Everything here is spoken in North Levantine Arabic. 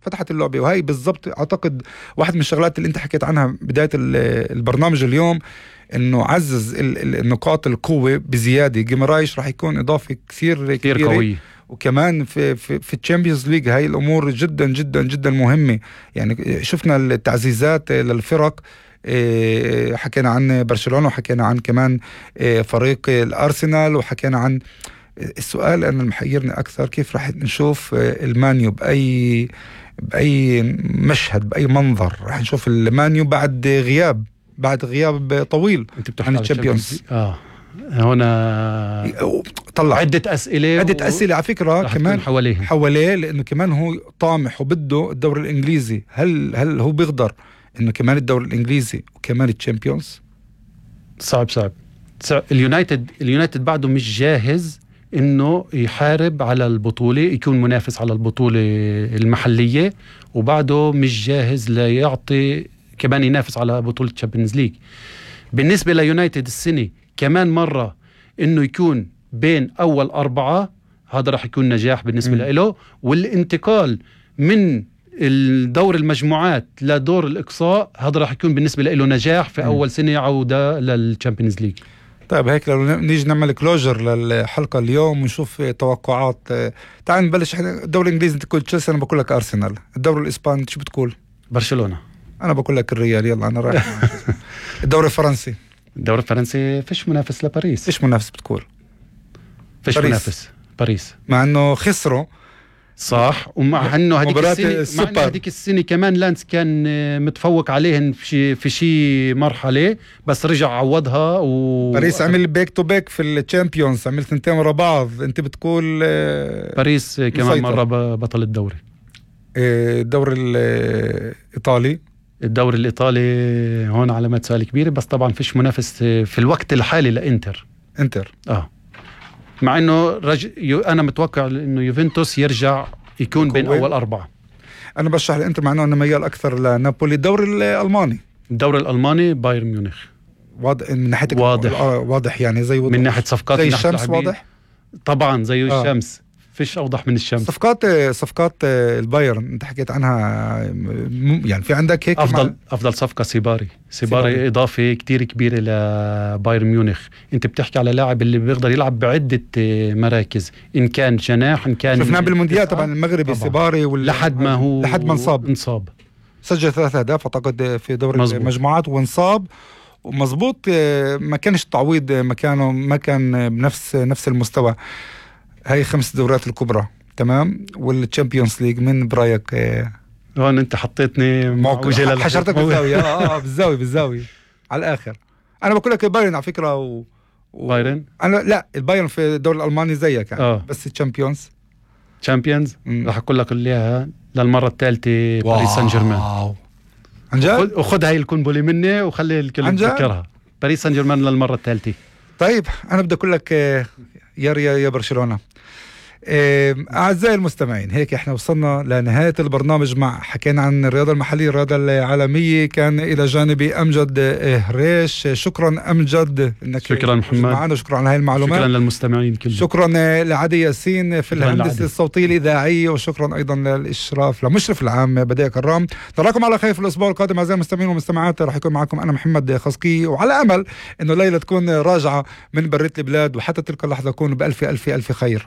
فتحت اللعبة. وهي بالضبط أعتقد واحد من الشغلات اللي أنت حكيت عنها بداية البرنامج اليوم، إنه عزز النقاط القوة بزيادة. جيمرايش راح يكون إضافة كثير قوية. وكمان في الشامبيونز ليج هاي الأمور جدا جدا جدا مهمة. يعني شفنا التعزيزات للفرق، حكينا عن برشلونة وحكينا عن كمان فريق الأرسنال وحكينا عن السؤال أنا المحيرني أكثر، كيف راح نشوف المانيو بأي مشهد بأي منظر راح نشوف المانيو بعد غياب طويل عن الشامبيونز. هنا طلع عدة أسئلة على فكرة كمان حواليه لأنه كمان هو طامح وبده الدوري الإنجليزي. هل هو بيقدر إنه كمان الدوري الإنجليزي وكمان الشامبيونز؟ صعب. اليونايتد بعده مش جاهز إنه يحارب على البطولة، يكون منافس على البطولة المحلية، وبعده مش جاهز ليعطي كمان ينافس على بطولة تشامبيونز ليج. بالنسبة ليونايتد السنة كمان مرة إنه يكون بين أول 4، هذا راح يكون نجاح بالنسبة له. والانتقال من الدور المجموعات لدور الإقصاء هذا راح يكون بالنسبة له نجاح في أول سنة عودة للتشامبيونز ليج. طيب هيك لو نيجي نعمل كلوجر للحلقة اليوم ونشوف توقعات. تعال نبلش. الدوري الإنجليزي أنت تقول تشيلسي، أنا بقول لك أرسنال. الدوري الإسباني شو بتقول؟ برشلونة. أنا بقول لك الريال. يلا أنا رايح. الدوري الفرنسي فيش منافس لباريس. فيش منافس بتقول؟ فيش منافس باريس مع أنه خسروا صح، ومع انه هذيك السنه كمان لانس كان متفوق عليهن في شي مرحله، بس رجع عوضها. باريس عمل بيك تو بيك في الشامبيونز، عمل 2 ورا بعض. انت بتقول باريس كمان مره بطل الدوري. الدوري الايطالي هون علامات سؤال كبيره، بس طبعا فيش منافس في الوقت الحالي لإنتر. مع انه انا متوقع انه يوفنتوس يرجع يكون بين اول 4. انا بشرح الانتر مع انه انا ميال اكثر لنابولي. الدوري الالماني بايرن ميونخ واضح من ناحيه واضح يعني زي من ناحيه صفقات، زي الشمس واضح طبعا زي الشمس. فيش اوضح من الشمس. صفقات البايرن انت حكيت عنها، يعني في عندك هيك افضل صفقه سيباري اضافه كتير كبيره لبايرن ميونخ. انت بتحكي على لاعب اللي بيقدر يلعب بعده مراكز، ان كان جناح، ان كان شفناه بالمونديال طبعا المغربي سيباري لحد ما انصاب. سجل 3 أهداف اعتقد في دوري المجموعات وانصاب. ومزبوط ما كانش تعويض مكانه، ما كان بنفس المستوى. هاي 5 دورات الكبرى تمام، والتشامبيونز ليج من برايك؟ هون انت حطيتني حشرتك بالزاوية. بالزاوية على الآخر. أنا بقول لك البايرن على فكرة بايرن؟ أنا لا، البايرن في الدوري الألماني زيك يعني. بس الشامبيونز راح أقول لك إياها للمرة الثالثة باريس سان جيرمان. عن جد؟ وخذ هاي الكنبلة مني وخلي الكل يتذكرها. باريس سان جيرمان للمرة الثالثة. طيب أنا بدي أقول لك يا برشلونة. أعزائي المستمعين، هيك إحنا وصلنا لنهاية البرنامج. حكينا عن الرياضة المحلية، الرياضة العالمية. كان إلى جانبي أمجد هريش. شكرا أمجد إنك شكرا محمد معنا، شكرا على هاي المعلومات. شكرا للمستمعين كلهم. شكرا لعدي ياسين في الهندسة الصوتية الإذاعية، وشكرا أيضا للإشراف لمشرف العام بديع كرام. نراكم على خير في الأسبوع القادم أعزائي المستمعين والمستمعات. راح يكون معكم أنا محمد خصكي، وعلى أمل إنه ليلة تكون راجعة من برية البلاد، وحتى تلك اللحظة أكون بألف ألف ألف خير.